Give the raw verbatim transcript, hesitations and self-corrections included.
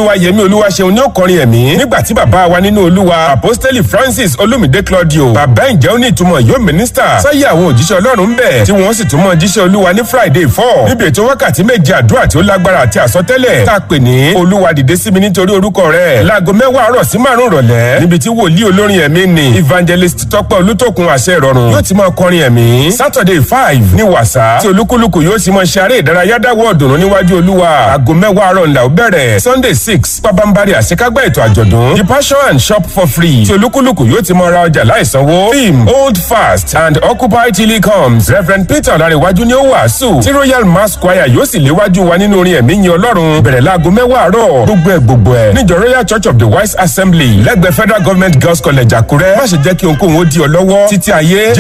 Olúwayẹmí Olúwaṣeun ní òkọrin ẹ̀mí nígbà tí bàbá wa nínú Olúwa Apostoli Francis Olúmídé Claudio bàbá ǹjẹ́ ó ní ìtumọ̀ yóò mínísítà sáyé àwọn òjíṣẹ́ Ọlọ́run ń bẹ̀ tí wọ́n sì tún mọ́ jíṣẹ́ Olúwa ní Friday four níbi ètò wákàtí méje àdúrà tí ó lágbára àti àsọtẹ́lẹ̀ tá a pè ní Olúwa dìde sí mi nítorí orúkọ rẹ̀ láago mẹ́wàá àárọ̀ sí márùn-ún rọ̀lẹ́ níbi tí wòlíì olórin ẹ̀mí ni Evangelist Tọ́pẹ́ Olútókun àṣẹ ìrọ̀rùn yóò ti máa kọrin ẹ̀mí. Saturday five ní wàsá tí olúkúlùkù yóò sì máa ṣe eré ìdárayá dáwọ́ ọ̀dùnnú níwájú Olúwa. Aago mẹ́wàá àárọ̀ ńlá ó bẹ̀rẹ̀. Sunday six pabambari àṣekágbá ètò àjọ̀dún. The passion and shop for free tí olúkúlùkù yóò ti máa ra ọjà láìsanwó. Theme hold fast and occupy till he comes. Reverend Peter Ọlárẹ̀wájú ni ó wàásù tí Royal Mass Choir yóò sì léwájú wa nínú orin ẹ̀mí yin Ọlọ́run bẹ̀rẹ̀ láago mẹ́wàá àárọ̀ gbogbo ẹ̀ gbogbo ẹ̀ níjọ Royal Church of the Wise Assembly lẹ́gbẹ̀ẹ́ Federal Government Girls College Àkúrẹ́. Má ṣe jẹ́ kí ohunkóhun ó di ọ lọ́wọ́ títí ayé.